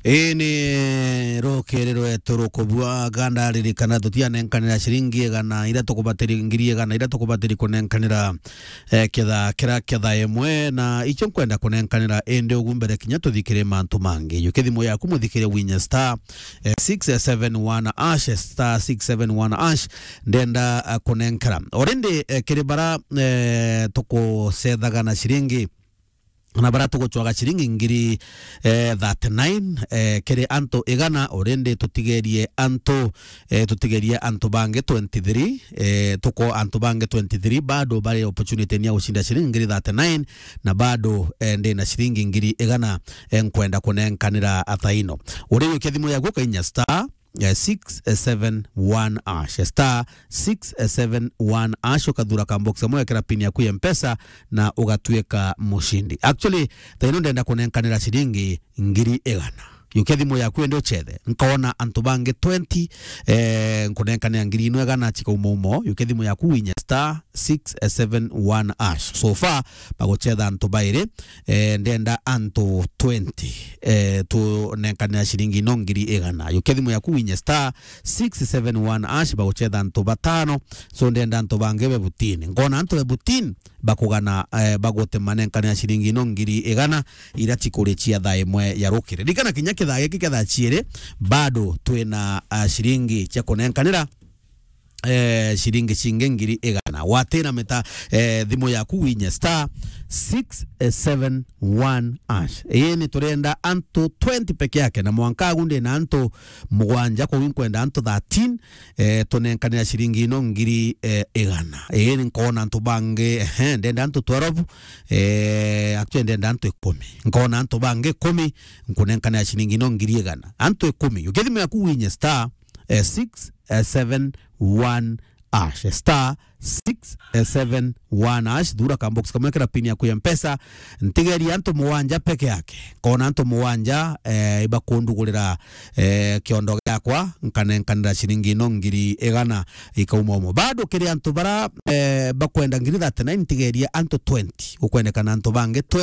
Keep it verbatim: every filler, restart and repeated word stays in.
Ii ni rukiri rwetu rukubua ganda, ririkana tutianenkanira ciringi igana iria tukubatiri, ngiri igana iria tukubatiri kunenkanira, eh, ketha kira ketha imwe, na icio nkwenda kunenkanira indi ugu mbere kinya tuthikire mantu mangi. Yukia thimu yaku muthikire winye star, eh, six seven one hash, star six seven one hash, ndenda, eh, kunenkera. Already, eh, kiri bara, eh, tukucethaga na ciringi na bara tugucwaga ciringi ngiri, eh, thirty-nine, eh, kiri antu igana, already tutigerie antu, eh, tutigerie antu bangi twenty-three, eh, tuko antu bangi twenty-three, bado bari opportunity ni ya gucinda ciringi ngiri thirty-nine, na bado, eh, ndina ciringi ngiri igana, eh, nkwenda kunenkanira athaino. Uri yukia thimu yaku ukainya star, eh, six seven one hash, star six seven one hash, ukathura ka box kamwe, wekera pin yaku ya Mpesa na ugatuika mucindi. Actually, thaino ndenda kunenkanira ciringi ngiri igana. Yukia thimu yaku ende uchethe. Nkona antu bangi twenty, eh, nkunenkanira ngiri ino igana chikauma umo. Yukia thimu yaku winye star six seven one hash. So far, baguchetha antu bairi, eh, ndenda antu twenty, eh, tunenkanira ciringi ino ngiri igana. Yukia thimu yaku winye star six seven one hash, baguchetha antu batano. So ndenda antu bangi be butini. Nkona antu be butini bakugana, eh, bagute manenkanira ciringi ino ngiri igana, iria cikurichia thaa imwe ya rukiri. Ririkana kinya kithaa giki kia thaa ciiri, bado twina, ah, ciringi cia kunenkanira, eh, ciringi cingi ngiri igana. Watira mita, eh, thimu yaku winye star six seven one hash. Ii ni turenda antu twenty peke yake, na mwanka agu ndina antu mugwanja, koguo nkwenda antu thirteen, eh, tunenkanira ciringi ino ngiri, eh, igana. Ii ni nkona antu bangi, ehe, ndenda antu twelve, eh, actually ndenda antu ikumi. Nkona antu bangi ikumi, nkunenkanira ciringi ino ngiri igana. Antu ikumi. Yukia thimu yaku winye star, eh, six seven one hash, star six seven one hash, thura ka box kamwe, kira pin yaku ya Mpesa. Ntigeria antu mugwanja peke yake. Nkona antu mugwanja, eh, ibakundugurira, eh, kiondo giakwa, nkanenkanira ciringi ino ngiri igana ikauma umo. Bado kiri antu bara, eh, bakwenda ngiri thirty-nine, ntigeria antu twenty. Gukwendekana antu bangi twenty.